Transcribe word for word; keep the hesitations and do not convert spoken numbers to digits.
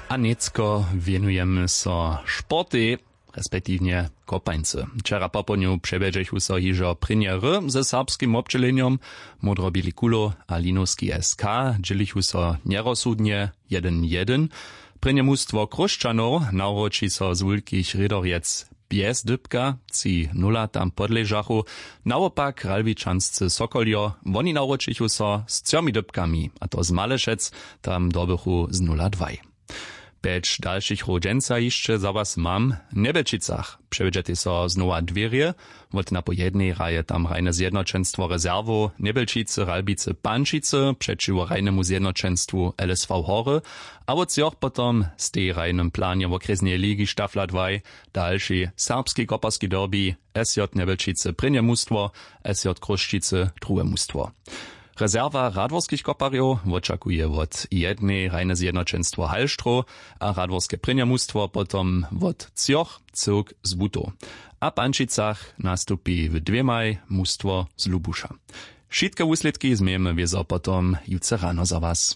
A nětko wěnujemy so sportej, respektiwnje kopańcy. Wčera popołdnju přewjedźechu so hižo prěnje hry ze serbskim wobdźělenjom. Módroběli kulo a linowski S K dźělichu so njerozsudnje, jedyn jedyn. Prěnje mustwo chróšćanow nawróći so z wulkich rědorjec bjez dypka, tři nula tam podležachu. Nawopak ralbičanscy sokoljo, woni nawróćichu so z třomi dypkami, a to z malešec, tam dobychu z nula dwaj. Pjeć dalšich hrow dźensa hišće za was mam. W njebelčicach přewjedźetej so znowa dwěrje. Wot napojednej hraje tam hrajne zjednoćenstwo rezerwow njebelčicy ralbicy pančicy přećiwo hrajnemu zjednoćenstwu lsv hory. A wot třoch potom stej w hrajnym planje wokrjesneje ligi stafla dwaj dalši serbski koparski derbi. Sj njebelčicy prěnje mustwo, sj chrósćicy druhe mustwo. Rezerwa radworskich koparjow wočakuje wot jednej hrajne zjednoćenstwo halštrow, a radworske prěnje mustwo potom wot třoch cyłk z butow. A w pančicach nastupi w dwěmaj mustwo z lubuša. Wšitke wuslědki změjemy wězo potom jutře rano za was.